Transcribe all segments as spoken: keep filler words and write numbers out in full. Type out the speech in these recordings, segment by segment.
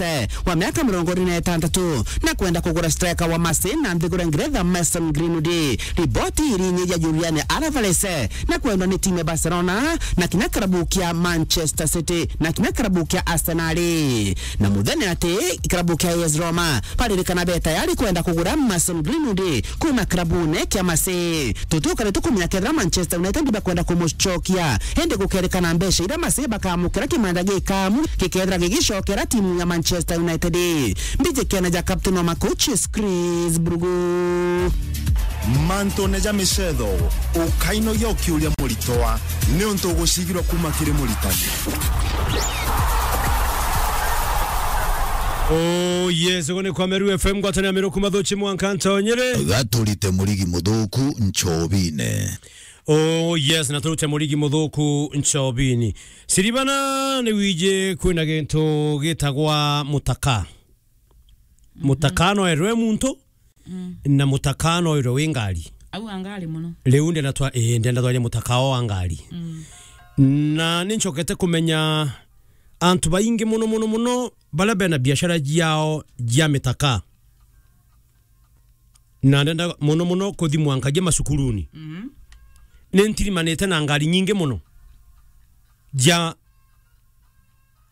Alvarez wa miaka mirongo iri na itantatu, na kwenda kugura striker wa Marseille na nthiguru ya Ngeretha Mason Greenwood. Riboti irinyiria Julian Alvarez na kwendwa ni timu ya Barcelona na kinya kirabu kia Manchester City na kinya kirabu kia Arsenal. Na muthenya ati kirabu kia A S Roma baririkana be tayari kwenda kugura Mason Greenwood kuma kirabune kia Marseille. Tutiukari tukumenya kethira Manchester United bakwenda kumucokia, indi gukerikana mbeca iria Marseille bakamukira kimanda gikamu gikethira gigicokera timu ya Manchester United. Mbiji kena ja captain wa Makuchis, Chris Brugu. Mantune ja micetho, ukainogia ukiuria muritwa, niuntu ugucigirwa kuma kiri muritani. Oh yes, ugu ni kwa Meru F M, ngwataniro ya Miru kuma Thuchi mwanka Ntonyere. Gaturite murigi muthuku nchobine. Oh yes, na turute murigi muthuku nchobini. Siribana ni wiji kwina gintu gitagwa mutaka. Mhm. Mutaka no erwe muntu, mm, na mutaka no erwe wi ngari. Au a ngari muno. Riu ndenda twa-, eh, ndenda twarie mutaka o a ngari. Mm. Na ni ncokete kumenya antu baingi muno, muno, muno, baria bena biashara ciao cia mitaka. Na ndenda muno muno kuthi mwankagia macukuruni. Mhm. Ni ntirimanite na ngari nyingi muno ja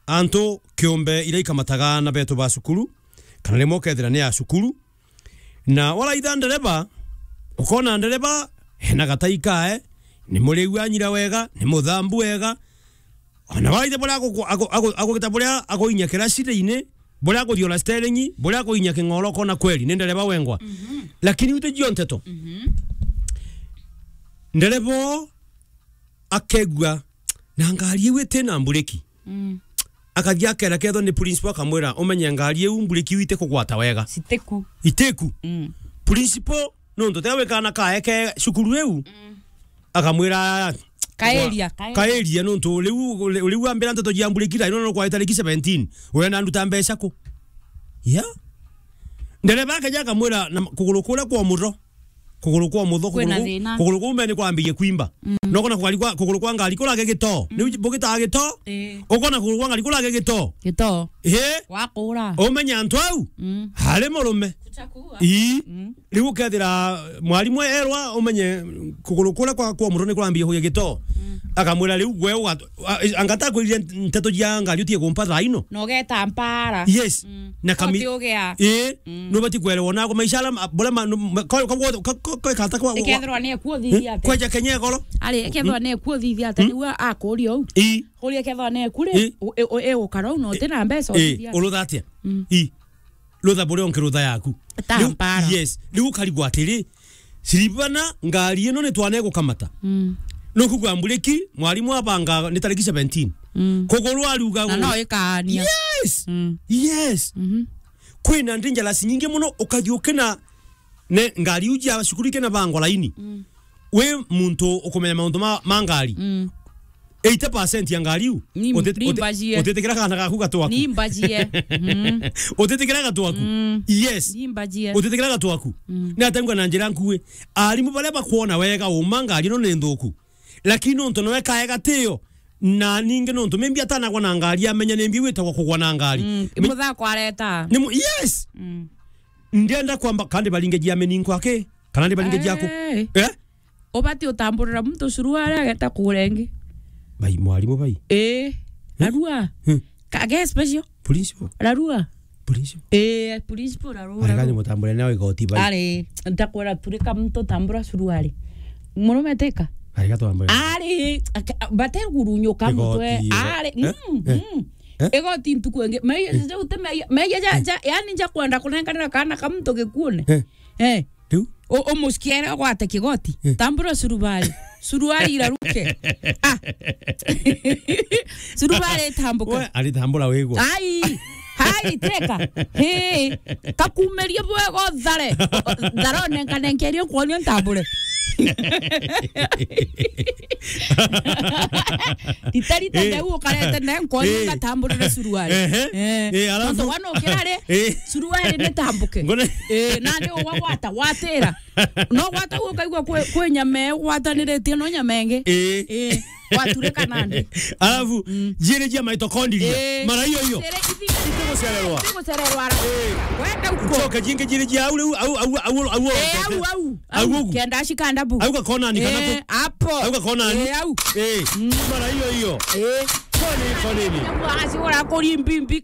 antu kiumbe iria ikamataga aana betu ba cukuru, kana rimwe ukethira ni ya cukuru. Na waraitha ndereba, ukona ndereba ena gatai kae, ni muriu anyira wega, ni muthambu wega, Ona waithe buria agu-, agu-, agu-, agugita buria aguinya kiracini-ini, buria aguthiura steering, buria aguinya king'oro, ukona kweli ni ndereba wengwa. Mhm. Lakini uti jio nteto. Mhm. Ndereba oo akegua na ngari iu iti na mbureki. Mm. Akathi akera kethwa ni principal akamwira, "Umenye ngari iu mbureki iu iti kugwata wega." Sitiku. Itiku. Mm. Principal nontu te wikana kae ke cukuru iu. Mm. Akamwira, "Kaeria, kaeria." Kaeria nontu riu, riu ambira nteto jia mbureki thaa ino no kwa tariki seventeen. Urenda nduta mbeca ku? Ya. Ndereba akeja akamwira, na kuguru kuria kwa mutho. Kuguru kwa mutho, kwina kuguru ku-, thina. Kuguru kuu mbere ni kwambirie kwimba. Mm. No kona kugari kwa, kuguru kwa ngari kurage gitoo. Mm. Riu bugitaga gitoo. Ii. Ukona kuguru kwa ngari kurage gitoo. Gitoo. Ii. Wakura. Umenya antu au? Mm. Hari murume. Kuchakua. Ii. Mm. Riu ukethira mwarimu erwa umenye kuguru kuria kwa, kwa mutho ni kurambia kugia gitoo. Mm. Akamwira riu gwe uga-, a-, anga takwirire nteto jia ngari utie kumpa thaa ino. Na ugeta mpara. Yes. Mm. Na kami-, uti ugea. Ii, mm, nubati kwerewa na maisha ala ma-, bora ma-, nu-, ma-, ko-, ko-, ko-, ko-, ko-, kata kwa, ikethirwa ni ekuo thithia ate. Kweja Kenya igoro. Ari, ikethirwa ni ekuo thithia ate, mm, niwe akuria u. Ii. Kuria ikethirwa ni ekuri, ii, u-, e-, u-, e ukara u na uti na mbeca, ii, uthithia ate. Urutha atia? Mm. Ii. Rutha buria unki rutha yaku. Ta riu, mpara. Yes. Riu ukarigwa atiri, Siribana, ngari ino ni twana igukamata. Mm. Nukugua mbureki, mwarimu abanga ni tariki seventeen. Mm. Kuguru ariuga na gu-, no ikania. Yes! Mm. Yes! Mhm. Kwina dangerous nyingi muno, ukathi ukina ne ngari iu cia cukuru ikina bangwa laini. Mm. Wi muntu ukumenya mauntu ma, ma ngari. Mm. Eighty percent ya ngari iu, ni, utit-, ni utit-, mbajie. Utitikira kana gaku gatwaku. Ni mbajie. Mm. Utitikira gatwaku. Mm. Yes. Ni mbajie. Utitikira gatwaku. Mm. Ni atengwa na njira nkui. Arimu baria bakwona wega uma ngari ino ni nthuku. Lakini nontu noe kae gatio, na ningi nontu maybe atanagwa na ngari, amenya nimbi witagwa kugwa na ngari. Mm. Mi- Muthako areta. Ni mu-, yes. Mm. Ndienda kwamba kandi baringe jia meninko aki. Kana ni baringe jaku. Eh. Eh? Ubati utamburira muntu suruari ageta kugura ingi. Bai, mwarimu bai. Eh. Hmm? Arua. Hmm. Ka-, ge special. Principal. Arua. Principal. Eh, principal arua. Arega ni mutambure nao igoti bai. Ari, ntakwira turika muntu tambura suruari. Murume tika. Arega twambure. Ari, aka-, bate gurunyuka mutwe. Igoti, ari, eh? Mm, eh? Mm. Eh? Igoti ntuku ingi. Maiya, eh, ja ute maiya, maiya ja, eh, ja, yani nja kwenda kunenganira kana ka muntu gikuone. Eh. Eh. Riu? U-, umucikiere ugwate kigoti. Eh. Tambura suruari. Suruari iraruke. Ah. Suruari itambuke. We, aritambura wigwa. Ai. Hai, teka. Hey. Kakumerie bwega uthare. Thare onenkanenkerie nkuonie ntambure. Rita rita, eh, ndeu ukarete ne nkuonie, eh, ngatamburire suruari. Ehe. Eh. Eh, alafu? Tontu wana ukira ri, eh, suruari nitambuke. Ngone- Eh, nandi ugwa gwata, watira. No gwata ukaigua kwi, kwi nyama igwataniritie no nyama ingi. Ii. Ii. Waturika nandi. Alafu, mm, jiri jia mitochondria. Ii. Mara iyo iyo. Sere ithi-, itigucererwa. Itigucererwa. Ii. Wenda uko. Ucoke jingi jiri jia au, au, au, au, au, au, ii, au, au. Au, au. Au, kenda shikanda bu. Au gakona ni kana ku. Ii, hapo. Au gakona ni. Ii, au. Ii. Mm. Mara iyo iyo. Ii. Koni, koni ni. Asi ora kuri mbimbi